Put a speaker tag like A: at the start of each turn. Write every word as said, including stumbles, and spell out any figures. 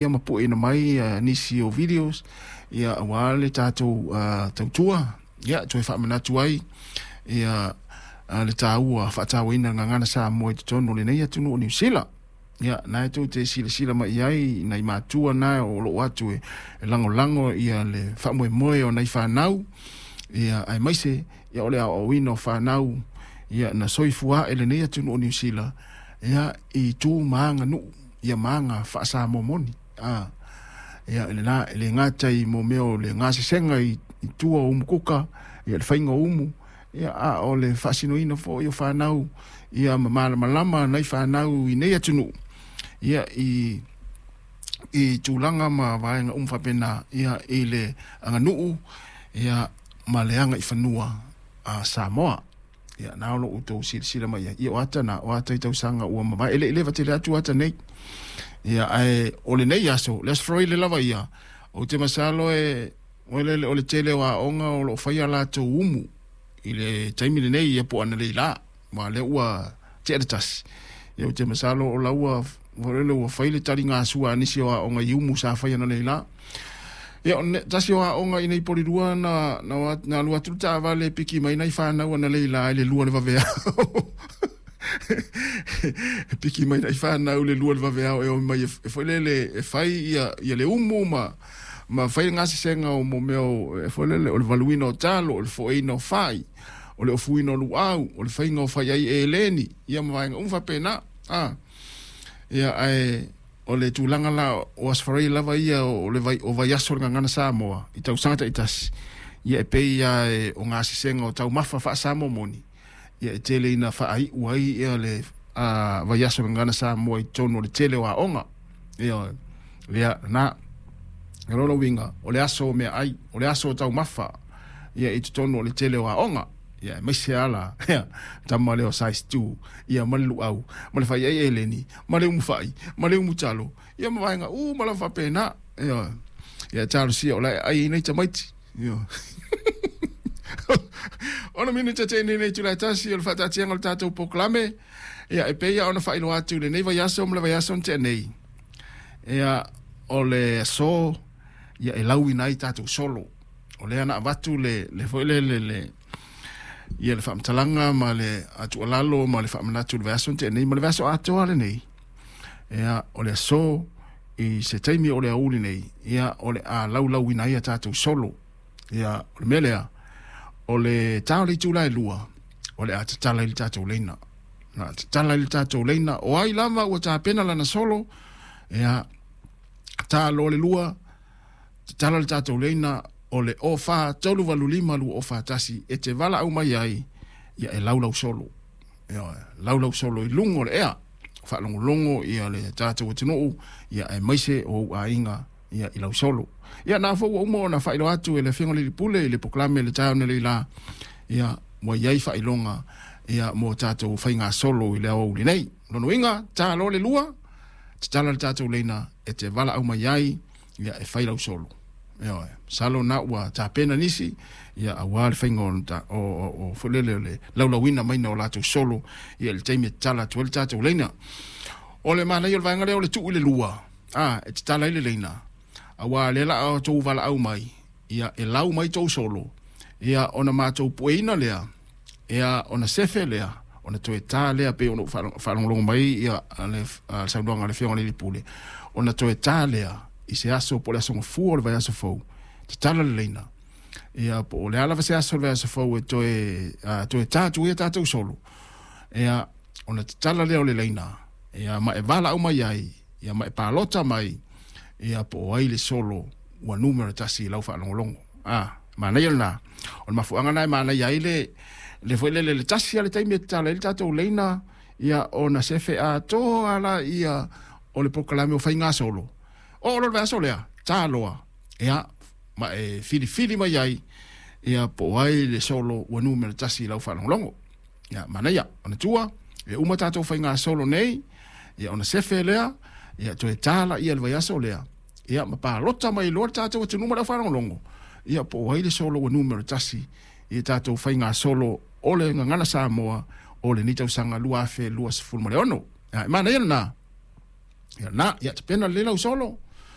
A: Ia ma pueina mai uh, nisi o videos ia aua le tatou uh, tautua ia toe faamanatu ai ia uh, le taua faatauaina gagana Samoa i totonu o lenei atunuu o Niu Sila. Ia na e tou te silasila mai ai nai matua na o loo atu e, e lagolago ia le faamoemoe o nai fanau ia aemaise ia o le aoaoina o fanau ia na soifua ae lenei atunuu o Niu Sila ia i tu ma aganuu ia ma aga faasamoa moni a ia lena e le gata i mo mea o le gasesega i, i tua o umukuka ia le faiga o umu ia a o le faasinoina foi o fanau ia ma malamalama nai fanau i nei atunuu ia i i tulaga ma vaega uma faapena ia i le aganuu ia ma le aga i fanua a Samoa. Ia na o loo outou silasila mai ai ia o ata na o ata i tausaga ua mavae e le i leva tele atu ata nei ia ae o lenei aso le Aso Faraile lava ia ou te masalo e o le o le tele o aoga o loo faia latou umu i le taimi lenei ia po o analeila ma lea ua tea le tasi ia ou te masalo o la ua lele ua fai le taligasua a nisi o aoga i umu sa fai analeila. Ia o tasi o aoga i nei Polilua na na na alu atu le taavale piki mai nai fanau analeila i le lua le vaveao e piki mai nai fanau le lua le vaveao e o mai e foi lele e fai ia ia le umu ma ma fai le gasesega o mo mea e foi lele o le valuina o talo o le foeina o fai o le ofuina o luau o le faiga o fai ai e eleni ia ma vaega uma faapena a ia ae o le tulaga la o Aso Faraile lava ia o le vai o vaiaso o le Gagana Samoa i tausaga taitasi ia e pei ia e o gasesega o taumafa faasamoa moni ia e tele ina faaiu ai ia le a vaiaso o le Gagana Samoa i totonu o le tele o aoga ia lea na o lona uiga o le aso o meaai o le aso o taumafa ia i totonu o le tele o aoga ia aemaise ala ia tama lea o size two ia ma le luau ma le faiai eleni ma le umufai ma le umutalo ia ma vaega uma lava faapena ia ia talosia o la e ai nei tamaiti ia ona minute tene nei itula e tasi o le faataatiaga o le tatou polokalame ia e pei ona faailoa atu lenei vaiaso ma le vaiaso na tea nei ia o le aso ia e lauina ai tatou solo o lea na avatu le le foi le le le ia le faamatalaga ma le atualalo ma le faamanatu le vaiaso na tea nei ma le vaiaso atoa lenei ia o le aso i se taimi o le aoauli nei ia o le a laulauina ai a tatou solo ia o le mea lea o le ta o le itula e lua o le a tatala i le tatou leina na tatala i le tatou leina o ai lava ua tapena lana solo ia ta loa le lua tatala le tatou leina o le o fa tolu valu lima lua o fa tasi e te valaau mai ai ia e laulau solo ia laulau solo i luga o le ea faalogologo ia le tatou atunuu ia aemaise o ou aiga ia i lau solo. Ia na foi ua uma ona faailoa atu e le Afioga i le Alii Pule i le polokalame le taeao analeila ia ua i ai faailoga ia mo tatou faigasolo i le aoauli nei. Lona uiga ta loa le lua tatala le tatou leina e te valaau mai ai ia e fai lau solo. Ioe, masalo na ua tapena nisi ia aua le faiga o o o, o foi lele o le laulauina maina o latou solo ia i le taimi e tatala atu ai le tatou leina. O le manaia o le vaega lea o le tuu i le lua a e tatala ai le leina aua lea la outou valaau mai ia e lau mai tou solo ia ona matou pueina lea ia ona sefe lea ona toe ta lea pei ona ou faalogologo mai ia le saunoaga a le Afioga i le Alii Pule ona toe ta lea i se aso po o le aso gafua o le vaiaso fou tatala le leina ia po o le a lava se aso o le vaiaso fou e toe uh, toe ta atu ai tatou solo ia ona tatala lea o le leina ia ma e valaau mai ai ia ma e palota mai ia po o ai le solo ua numera tasi i lau faalogologo a manaia lena o le mafuaaga na e manaia ai le le foi lele le tasi a le taimi e tatala ai le tatou leina ia ona sefe atoa la ia o le polokalame o faigasolo o lo le vaiaso lea ta loa ia ma e filifili mai ai ia po o ai le solo ua numera tasi i lau faalogologo ia manaia ona tua e uma tatou faigasolo nei ia ona sefe lea ia toe ta laia le vaiaso lea ia ma palota mai loa le tatou atunuu ma le aufaalogologo ia po o ai le solo ua numera tasi i tatou faigasolo o le Gagana Samoa o lenei tausaga lua afe luasefulu ma le ono. Ia e manaia lena ia na ia tapena lelei lau solo.